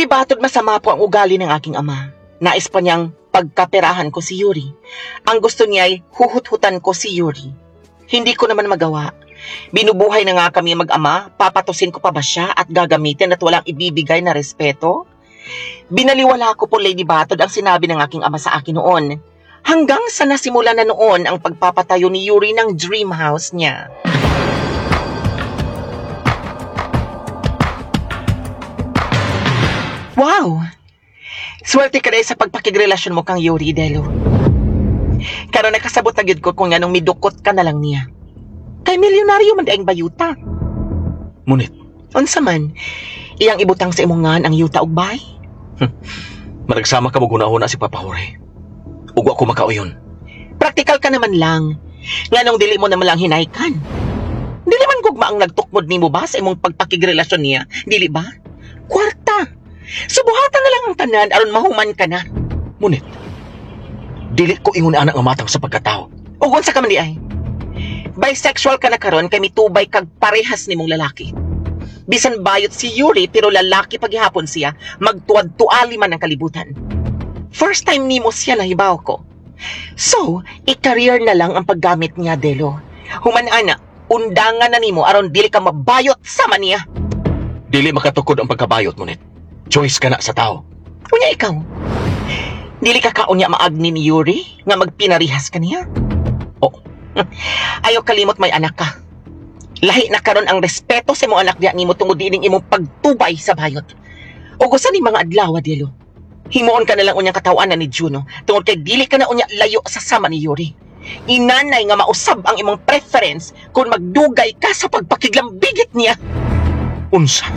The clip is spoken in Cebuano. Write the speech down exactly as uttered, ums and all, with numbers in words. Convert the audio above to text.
Lady Batod, masama po ang ugali ng aking ama. Nais pa niyang pagkaperahan ko si Yuri. Ang gusto niya ay huhut-hutan ko si Yuri. Hindi ko naman magawa. Binubuhay na nga kami mag-ama, papatusin ko pa ba siya at gagamitin at walang ibibigay na respeto? Binaliwala ko po, Lady Batod, ang sinabi ng aking ama sa akin noon. Hanggang sa nasimula na noon ang pagpapatayo ni Yuri ng dream house niya. Wow! Swerte ka dahil sa pagpakigrelasyon mo kang Yuri, Delo. Karon nakasabot na gyud ko kung anong midukot ka na lang niya. Kay milyonaryo man daing bayuta. Munit, Unsa man, iyang ibutang sa imong ngan ang yuta og bay. managsama ka mo gunahuna si Papa Jorge. Ug wa ko makauyon. Praktikal ka naman lang. Nganong dili mo naman lang hinaykan. Dili man gugma ang nagtukmod nimo ba sa imong pagpakigrelasyon niya, dili ba? Kwarta. Subuhatan na lang ang tanan aron mahuman ka na. Munit, dili ko ingon ana nga matang sa pagkatao. Ug unsa ka man di ay? Bisexual ka na karon kay mitubay kag parehas nimong lalaki. Bisan bayot si Yuri pero lalaki paghihapon siya, magtuwad-tuali man ang kalibutan. First time nimo siya nahibaw ko. So, i-career na lang ang paggamit niya, Delo. Human ana, undangan na nimo aron dili ka mabayot sama niya. Dili makatukod ang pagkabayot, Munit. Choice ka na sa tao. Unya ikaw. Dili ka kaunya maagni ni Yuri nga magpinarihas ka niya. Oh. Ayaw kalimot may anak ka. Lahi na karon ang respeto sa imong anak diya nimo tungod dining imong pagtubay sa bayot. Ug usa ni mga adlaw, Delo. Himuon ka na lang unyang katawanan ni Juno tungod kay dili ka na unya layo sa sama ni Yuri. Inanay nga mausab ang imong preference kung magdugay ka sa pagpakiglambigit niya. Unsa?